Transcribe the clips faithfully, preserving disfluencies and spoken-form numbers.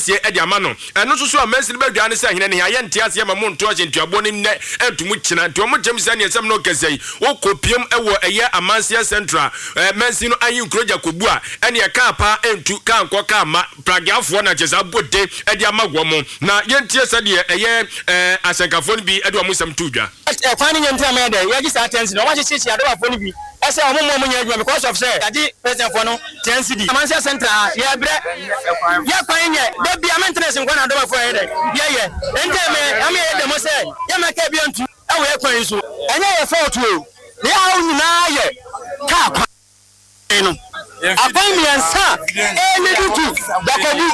Asiesie de ama no. Ɛno nso so a mansini badwa ne sɛ hene ne ayɛ nte aseɛ ma mo nto ahyɛntuaboɔ no nnɛ ɛntom kyena. Nti ɔmo kyɛm sɛ neɛ sɛm no kɛsɛ yi wokɔ piem ɛwɔ ɛyɛ Amanseɛ Central ɛɛ mansini no ayi nkuro Gyakobu a ɛneɛ kaa paa ɛntu kaa nkɔ kaa ma pragiafoɔ na kyɛ sɛ abɔ de ɛde ama wɔ mo. Na yɛntie sɛdeɛ ɛyɛ ɛɛ ahyɛnkafoɔ no bi ɛde ɔmo nsɛm to dwa. Ɛkwan no nyɛ ntina mɛ dɛ yɛgye saa ten cedi. Ɔmo akyekyekyere adɔbafoɔ no bi ɛsɛ ɔmo mo ɔmo nyɛ adwuma because of sɛ yɛgye presidentfoɔ no ten cedi. Amanseɛ Central ha, yɛbrɛ yɛ kwan nyɛ da bia maintenance nkwa na adɔbafoɔ yɛ dɛ yɛyɛ nti mɛ ɛmɛ yɛ dɛmɔ sɛ yɛmɛ bi ntu ɛwɔ yɛ kwan yi so. Ɛnyɛ yɛ fault o, ne yɛ nyinaa yɛ kaa kwan no akwan mmiɛnsa ɛlead to Dakobu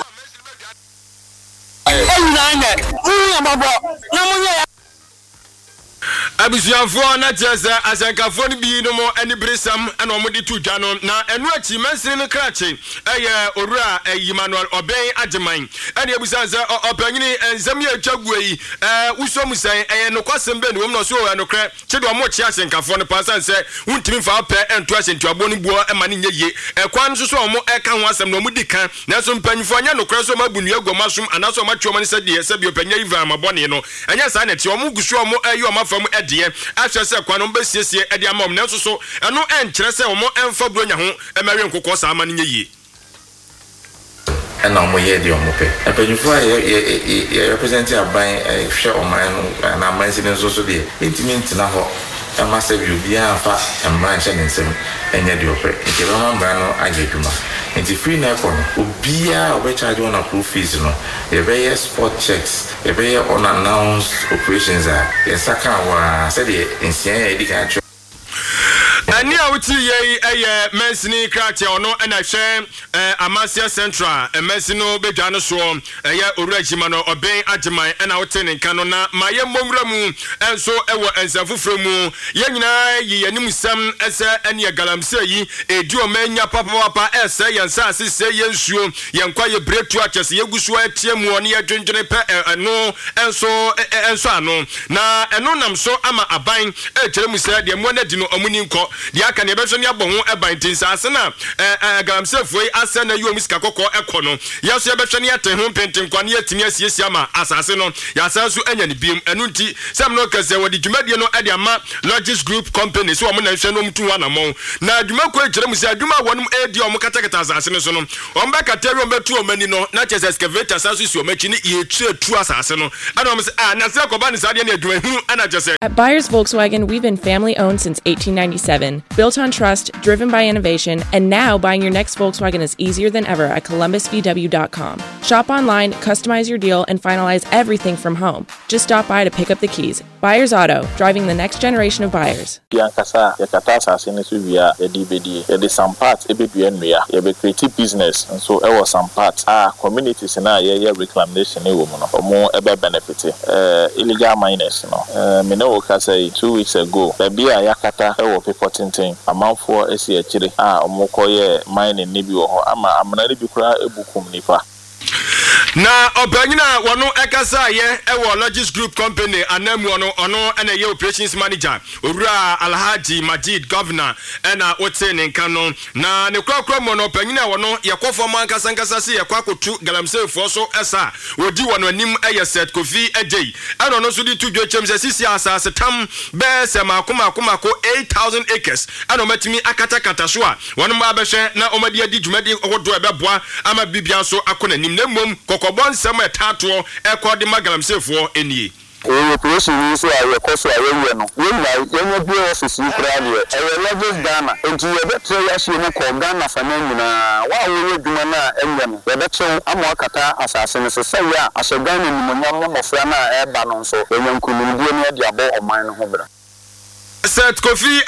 ɛnyinaa nyɛ mu yɛ mɔbɔ na mo nyɛ. Abusuafoɔ, na kyerɛ sɛ ahyɛnkafoɔ no bi nom ani beresɛm ɛna wɔde to dwa no. Na ɛno akyi, mansini no krakye ɛyɛ Owura Emmanuel Ɔbɛn Agyeman ɛne abusan sɛ ɔpanyini, nsɛm yɛ atwa gu yi, ɛɛ wosɔ mu sɛn? Ɛyɛ nokwasɛm bɛ ne wɔm na ɔso ɛnokorɛ kye deɛ ɔmo kye ahyɛnkafoɔ no paa san sɛ wontumi mfa wopɛ ɛnto ahyɛntuaboɔ no buo ɛma no nyɛ yie. Ɛkwan no nso so a ɔmo ɛka ho asɛm na ɔmo di kan, nanso mpanyinfoɔ nyɛ nokorɛ sɛ ɔmo abu nnua gu ɔmo asom anaasɛ ɔmo atwe ɔmo ani sɛ deɛ sɛbi ɔpanyin yi van amabɔne no. Ɛnyɛ saa na ɛte. Ɔmo gu so ɔmo ɛyɛ ɔmo afa mu ɛdeɛ ahwɛ sɛ kwan no bɛsiesie ɛde ama ɔmo, nanso so ɛno ɛnkyerɛ sɛ ɔmo ɛmfa buronya ho ɛmɛwe nkokɔ saa ama no nyɛ yie. Ɛna ɔmo yɛ deɛ ɔmo pɛ. Mpanyinfoɔ a yɛ yɛ yɛ represent aban, ɛhwɛ ɔman no anaa amansi no nso so deɛ, ntumi ntena hɔ ɛma sɛ bi obiara nfa mmara nhyɛ ne nsam ɛnyɛ deɛ ɔpɛ. Nti ɛbɛma mmara no ayɛ adwuma. Nti firi na ɛkɔ no, obiara a ɔbɛcharge wɔn approved fees no, yɛbɛyɛ spot checks, yɛbɛyɛ unannounced operations a yɛnsa ka wɔ a sɛdeɛ nsia yɛ yɛdi kan atwerɛ. Ɛne a wotie yɛ yi ɛyɛ mansini krakye, ɔno ɛna hwɛ ɛɛ Amanseɛ Central mansini no bɛdwa no soɔ, ɛyɛ Owura Gyima no Ɔbɛn Agyeman ɛna wote ne nka no. Na ma yɛ mmɔ nwura mu ɛnso ɛwɔ nsɛm foforɔ mu. Yɛn nyinaa yi yɛn anim sɛm ɛsɛ ɛne galamsey yi edi ɔman nya papapapa, ɛsɛ yɛn nsaase, sɛ yɛn nsuo, yɛn kwa yɛ biretu akyɛ sɛ yɛgu so ɛteɛ mu ɔne yɛdwendwene pɛ ɛno ɛnso ɛnso ano na ɛno nam so ama aban ɛkyerɛ mu sɛ deɛ mmoa no adi no, ɔmo ni nkɔ deɛ aka deɛ ɛbɛhwɛ ne abɔ ho ɛban. Nti nsaase na ɛɛ ɛɛ galamseyfoɔ yi asɛ na yi wɔn sika kɔkɔɔ ɛkɔ no, yɛn nso yɛbɛhwɛ ne yɛte ho mpentenkwa ne yɛtumi asiesie ama asase no yɛasan so anya ne biem. Ɛno nti sɛm no kɛsɛ wɔde dwumadie no ɛde ama Logis Group Company sɛ wɔn na nhwɛ no, wɔn tu ho anammɔn. Na dwumakuo kyerɛ mu sɛ adwuma a wɔn edi a wɔn katakata asase no so no, wɔn bɛkata wi, wɔn bɛtu wɔn ani no na kyerɛ sɛ excavator san so si wɔn akyi ne yɛtu etu asase no. Ɛna wɔn sɛ ah, na sɛ kɔba ne saa deɛ ne adwuma hunu ɛna kyerɛ sɛ. At Buyers Volkswagen, we've been family owned since eighteen ninety-seven, built on trust, driven by innovation, and now buying your next Volkswagen is easier than ever at Columbus V W dot com. Shop online, customize your deal, and finalize everything from home. Just stop by to pick up the keys. Buyers Auto, driving the next generation of buyers. Ankasa a yɛkata asase no so wie a, yɛde bɛdie, yɛde some part ɛbɛdua nnua, yɛbɛcreate business nso ɛwɔ some part a communities no a yɛyɛ reclamation no wɔ mu no, ɔmo ɛbɛ benefit. ɛɛ illegal miners no, ɛɛ me ne wo kasa yi, two weeks ago, baabi a yɛakata ɛwɔ bepɔ tenten, amanfoɔ asi akyire a ɔmo kɔyɛ mining ne bi wɔ hɔ ama amena no bi koraa ebu kum nipa. Na ɔpanyin a wɔno ɛkasa yɛ ɛwɔ Logis Group Company anamu no, ɔno ɛna ɛyɛ operations manager, Owura Alhaji Majid Governor, ɛna wote ne nka no. Na ne korakora mu no, ɔpanyin a wɔno yɛkɔ fam ankasa nkasa se yɛkɔ akɔtu galamseyfoɔ so ɛsa a wɔdi wɔn anim ɛyɛ Seth Kofi Agyei, ɛna ɔno nso de to dwa kyɛm sɛ sisi asase tam bɛɛ sɛ maako maako maako eight thousand acres ɛna ɔmatumi akatakata so a wɔn mmaa bɛhwɛ na wɔde adi dwumadi ahodoɔ a ɛbɛboa ama bibia nso akɔ n'anim. Na mmom kɔkɔbɔ nsɛm a ɛtaatoɔ ɛkɔ de ma galamseyfoɔ nie. Ɛyɛ operation yi nso a yɛkɔ so a yɛyɛ no, yɛnya yɛnya bue office yi koraa deɛ, ɛyɛ Logis Ghana nti yɛbɛtrɛ yɛahyia mu kɔ Ghana fa no nyinaa. Wo a wɔyɛ adwuma no a ɛnyɛ no, yɛbɛkyɛw ama wakata asase no so sɛ yɛ a ahyɛ Ghana nimonyam ne mmɔfra no a ɛreba no nso yɛnya nkonimdie no de abɔ ɔman no ho bra. Seth Kofi.